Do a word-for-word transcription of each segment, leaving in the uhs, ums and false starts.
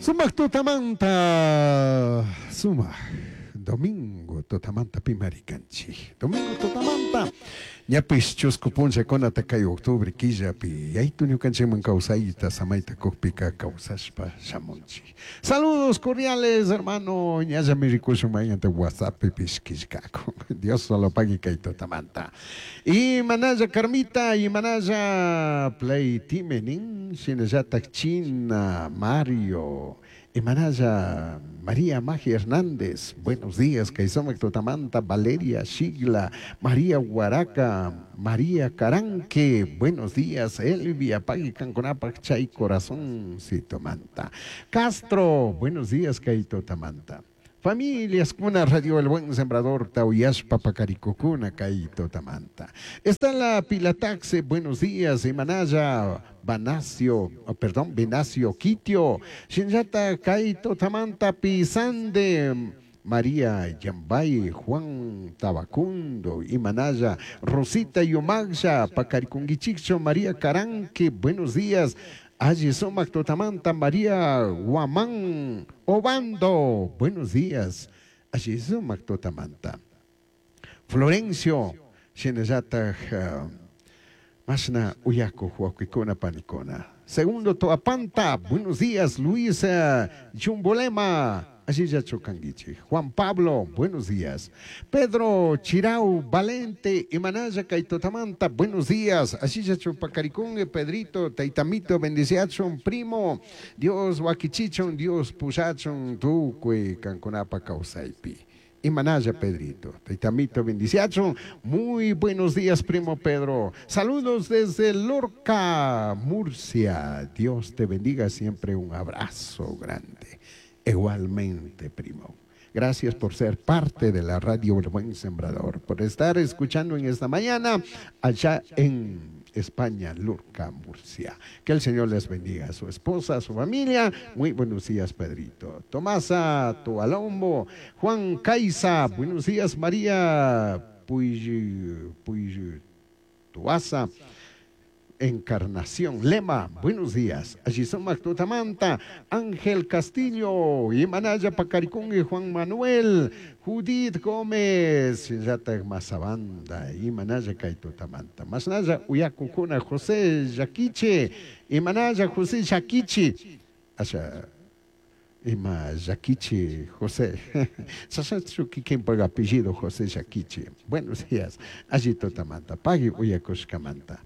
Sumak tutamanta, sumak domingo tutamanta pimarikanchik. Domingo tutamanta, ñapish chusku punllakunata kay octubre killapi, yaytu ñukanchikman kawsayta samayta kukpika kawsashpa shamunchik. Saludos cordiales, hermano, ñallami rikushun mañanta WhatsAppipish killkakun. Dios solo pagui kay tutamanta. Y manalla Carmita, y manalla Play Timenin, shinallatak China, Mario, Imanalla María Magia Hernández, buenos días, Kaisomak Tutamanta, Valeria Shigla, María Huaraca, María Caranque, buenos días, Elvia, Pagui Canconapac, Chay Corazón, Sitomanta. Castro, buenos días, Kaito Tamanta. Familias kuna Radio El Buen Sembrador, Tauyashpa, Pacaricocuna, Kaito Tamanta. Está la Pilataxe, buenos días, Imanaya, Banacio, oh, perdón, Benacio Quitio, Shinjata, Kaito Tamanta, Pisande, María Yambay, Juan Tabacundo, Imanaya, Rosita Yomagsha, Pacaricunguichicho, María Caranque, buenos días. Allí Sumac Totamanta, María Guamán Obando, buenos días. Allí Sumac Totamanta. Florencio, Shinayata, uh, Masna Uyaco, Huaquicona Panicona. Segundo Toapanta, buenos días. Luisa Chumbolema, allí ya chocanguiche. Juan Pablo, buenos días. Pedro Chirau, Valente, Imanaya, Kaitotamanta, buenos días. Allí ya chupacaricungue, Pedrito, Taitamito, bendiciachon, primo. Dios wakichichon, Dios pusachon, tucue, canconapa, causaipi. Imanaya, Pedrito, Taitamito, bendiciachon. Muy buenos días, primo Pedro. Saludos desde Lorca, Murcia. Dios te bendiga siempre. Un abrazo grande. Igualmente, primo. Gracias por ser parte de la radio El Buen Sembrador, por estar escuchando en esta mañana allá en España, Lorca, Murcia. Que el Señor les bendiga a su esposa, a su familia. Muy buenos días, Pedrito. Tomasa Tualombo, Juan Caiza, buenos días, María Puy, Puy, Tuaza. Encarnación, Lema, buenos días. Allí son Tutamanta, Ángel Castillo, Imanaya Pacaricún y Juan Manuel, Judith Gómez, Yata Mazabanda, Imanaya Kaitutamanta, Masnaya Uyacucuna, José Yaquiche, Imanaya José Yaquiche, Asha, Ima Yaquiche, José, Sasatsu Kikin apellido José Yaquiche. Buenos días, allí Totamanta, Pagui Uyacushcamanta.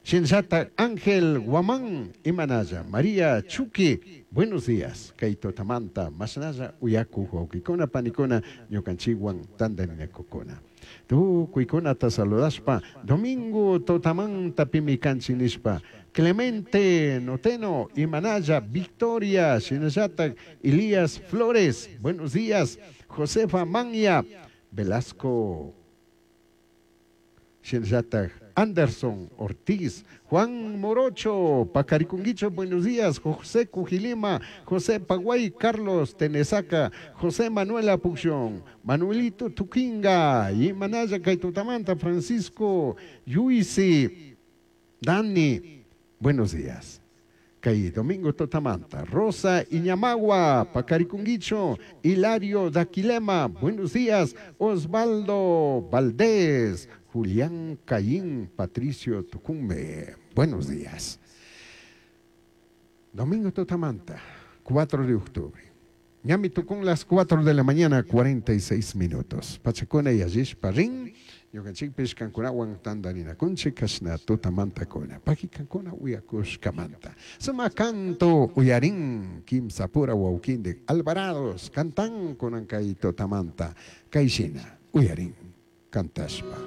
Shinshata Ángel Guamán Imanaya, María Chuki, buenos días. Kaito Tamanta, Masnaya, Uyaku, Huaukikona, Panicona, Ñukanchiwan, Tandaninakukuna. Tu kuikuna ta saludaspa, Domingo Totamanta Pimikanchinispa, Clemente Noteno, Imanaya, Victoria, Shinshata, Elías Flores, buenos días. Josefa Manya, Velasco, Shinshata, Anderson Ortiz, Juan Morocho, Pacaricunguicho, buenos días, José Cujilima, José Paguay, Carlos Tenesaca, José Manuel Apuxión, Manuelito Tuquinga, Imanaya Kaitutamanta, Francisco Yuisi, Dani, buenos días. Kay Domingo Totamanta, Rosa Iñamagua, Pacaricunguicho, Hilario Daquilema, buenos días, Osvaldo Valdés, Julián Cayín, Patricio Tucumbe, buenos días. Domingo Totamanta, cuatro de octubre. Ñami tucún las cuatro de la mañana, cuarenta y seis minutos. Pachacona y Ayish Parrín, Ñukanchikpish kankunawan tandarinakunchik kashna tutamantakuna. Paki kankuna uyakushkamanta. Suma canto uyarin kimsapura wawkindik Alvarados cantan kunan kay tutamanta. Kayshina uyarin cantashpa.